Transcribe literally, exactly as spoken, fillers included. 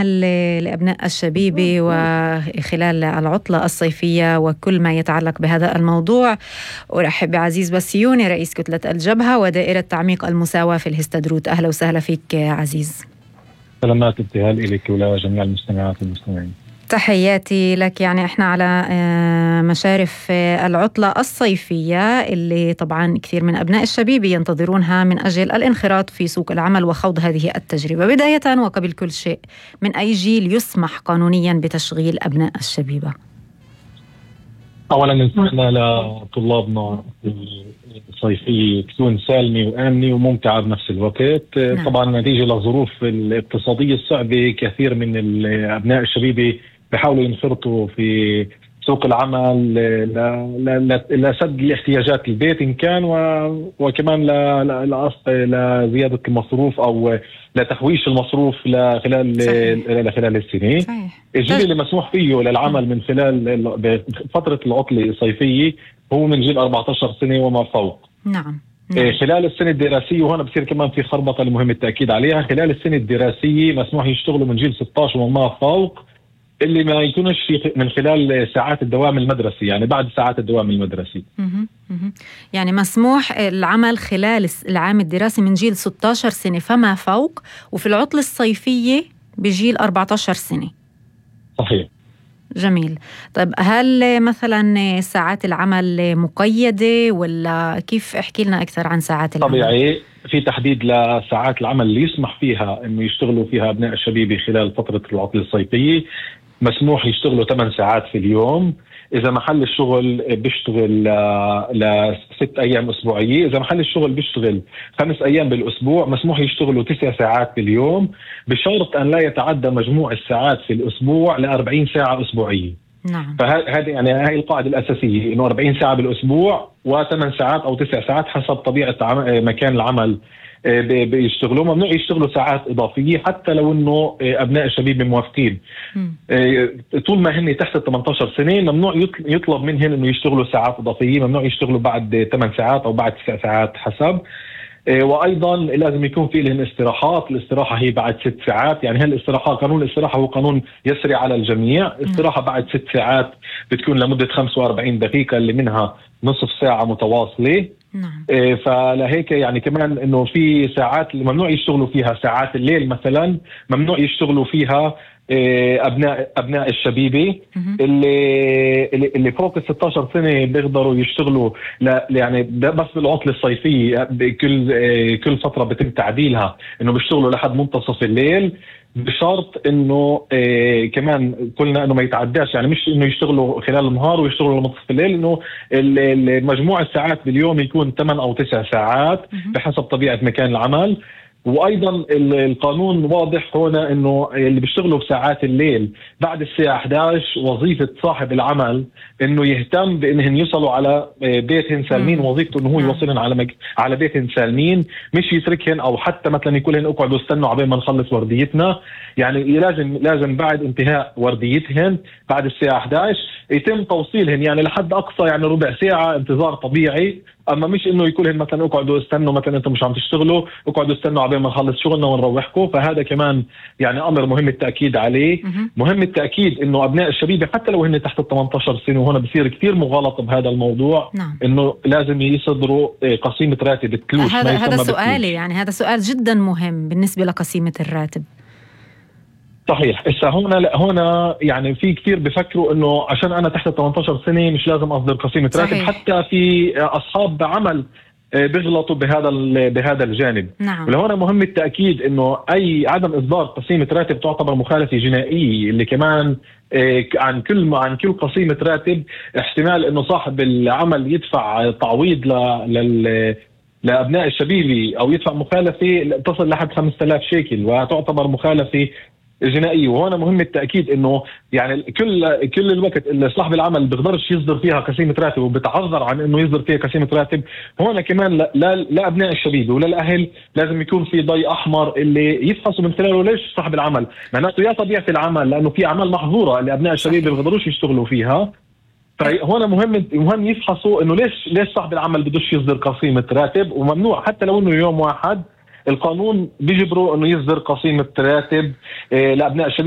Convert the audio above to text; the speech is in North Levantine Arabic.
ل- لأبناء الشبيبة وخلال العطلة الصيفية وكل ما يتعلق بهذا الموضوع. أرحب بعزيز بسيوني رئيس كتلة الجبهة ودائرة تعميق المساواة في الهستدروت. أهلا وسهلا فيك عزيز. سلامات ابتهال إليك ولجميع المستمعات والمستمعين. تحياتي لك. يعني احنا على مشارف العطلة الصيفية اللي طبعا كثير من أبناء الشبيبة ينتظرونها من أجل الانخراط في سوق العمل وخوض هذه التجربة. بداية وقبل كل شيء، من أي جيل يسمح قانونيا بتشغيل أبناء الشبيبة؟ أولا نتمنى لطلابنا الصيفية تكون سالمة وآمنة وممتعة بنفس الوقت. نعم. طبعا نتيجة لظروف الاقتصادية الصعبة كثير من أبناء الشبيبة بيحاولوا ينخرطوا في سوق العمل لسد الاحتياجات البيت إن كان وكمان لزيادة المصروف أو لتحويش المصروف لخلال لخلال السنة. صحيح. الجيل اللي مسموح فيه للعمل من خلال فترة العطلة الصيفية هو من جيل أربعة عشر سنة وما فوق. نعم. نعم. خلال السنة الدراسية، وهنا بصير كمان في خربطة المهم التأكيد عليها، خلال السنة الدراسية مسموح يشتغلوا من جيل ستة عشر وما فوق اللي ما يكونش في من خلال ساعات الدوام المدرسي، يعني بعد ساعات الدوام المدرسي. مه. مه. يعني مسموح العمل خلال العام الدراسي من جيل ستة عشر سنة فما فوق، وفي العطلة الصيفية بجيل أربعة عشر سنة. صحيح. جميل. طيب هل مثلا ساعات العمل مقيدة ولا كيف؟ احكي لنا أكثر عن ساعات العمل. طبيعي في تحديد لساعات العمل اللي يسمح فيها إنه يشتغلوا فيها أبناء الشبيبة خلال فترة العطلة الصيفية. مسموح يشتغلوا ثمان ساعات في اليوم إذا محل الشغل بيشتغل لست أيام أسبوعية. إذا محل الشغل بيشتغل خمس أيام بالأسبوع مسموح يشتغلوا تسع ساعات في اليوم، بشرط أن لا يتعدى مجموع الساعات في الأسبوع لأربعين ساعة أسبوعية. نعم. فهذه يعني هاي القاعدة الأساسية، إنه أربعين ساعة بالأسبوع وثمان ساعات أو تسع ساعات حسب طبيعة مكان العمل بيشتغلوا. ممنوع يشتغلوا ساعات إضافية حتى لو إنه أبناء الشبيبة موافقين. طول ما هن تحت ثمانية عشر سنة ممنوع يطلب منهم إنه يشتغلوا ساعات إضافية، ممنوع يشتغلوا بعد ثمان ساعات أو بعد تسع ساعات حسب. وأيضا لازم يكون في لهم استراحات. الاستراحة هي بعد ست ساعات، يعني هالاستراحة قانون الاستراحة هو قانون يسري على الجميع. استراحة بعد ست ساعات بتكون لمدة خمسة وأربعين دقيقة اللي منها نصف ساعة متواصلة. نعم. فلهيك يعني كمان انه في ساعات اللي ممنوع يشتغلوا فيها، ساعات الليل مثلا ممنوع يشتغلوا فيها ابناء ابناء الشبيبه. اللي اللي فوق ال ستة عشر سنه بيقدروا يشتغلوا يعني بس بالعطله الصيفيه. كل كل فتره بتم تعديلها انه بيشتغلوا لحد منتصف الليل، بشرط انه إيه كمان قلنا انه ما يتعداش، يعني مش انه يشتغلوا خلال النهار ويشتغلوا لمنتصف الليل، انه مجموع الساعات باليوم يكون ثمان او تسع ساعات بحسب طبيعة مكان العمل. وايضا القانون واضح هنا انه اللي بيشتغلوا بساعات الليل بعد الساعة إحدى عشر وظيفة صاحب العمل انه يهتم بانهم يوصلوا على بيتهم سالمين. وظيفته انه هو يوصلهم على مج... على بيتهم سالمين، مش يتركهم او حتى مثلا يقول لهم اقعدوا استنوا عبين ما نخلص ورديتنا. يعني لازم لازم بعد انتهاء ورديتهم بعد الساعة إحدى عشر يتم توصيلهم يعني لحد اقصى يعني ربع ساعة انتظار طبيعي. اما مش انه يقول لهم مثلا اقعدوا استنوا، مثلا انتم مش عم تشتغلوا اقعدوا استنوا عبين ما نخلص شغلنا ونروحكم. فهذا كمان يعني امر مهم التاكيد عليه. مهم التاكيد انه ابناء الشبيبه حتى لو هن تحت ثمانية عشر سنه، وهنا بصير كثير مغالطه بهذا الموضوع. نعم. انه لازم يصدروا قسيمه راتب التلوش. هذا هذا سؤالي، يعني هذا سؤال جدا مهم بالنسبه لقسيمه الراتب. صحيح. إسا هنا لا هنا يعني في كثير بفكروا انه عشان انا تحت ثمانية عشر سنه مش لازم اصدر قسيمه راتب. حتى في اصحاب عمل بيغلطوا بهذا بهذا الجانب. نعم. ولهنا مهم التاكيد انه اي عدم اصدار قسيمه راتب تعتبر مخالفه جنائيه، اللي كمان عن كل عن كل قسيمه راتب احتمال انه صاحب العمل يدفع تعويض لل لابناء الشبيبه او يدفع مخالفه تصل لحد خمسة آلاف شيكل، وتعتبر مخالفه جنائيه. وهنا مهم التاكيد انه يعني كل كل الوقت اللي صاحب العمل بيقدرش يصدر فيها قسيمه راتب وبتعذر عن انه يصدر فيها قسيمه راتب، هنا كمان لا, لا, لا ابناء الشبيبه ولا الاهل لازم يكون في ضي احمر اللي يفحصوا من خلاله ليش صاحب العمل معناته يا طبيعه العمل، لانه في اعمال محظوره اللي ابناء الشبيبه ما بيقدروش يشتغلوا فيها. فهنا مهم مهم يفحصوا انه ليش ليش صاحب العمل بدوش يصدر قسيمه راتب، وممنوع حتى لو انه يوم واحد القانون بيجبره انه يصدر قسيمه راتب لابناء الشبيبه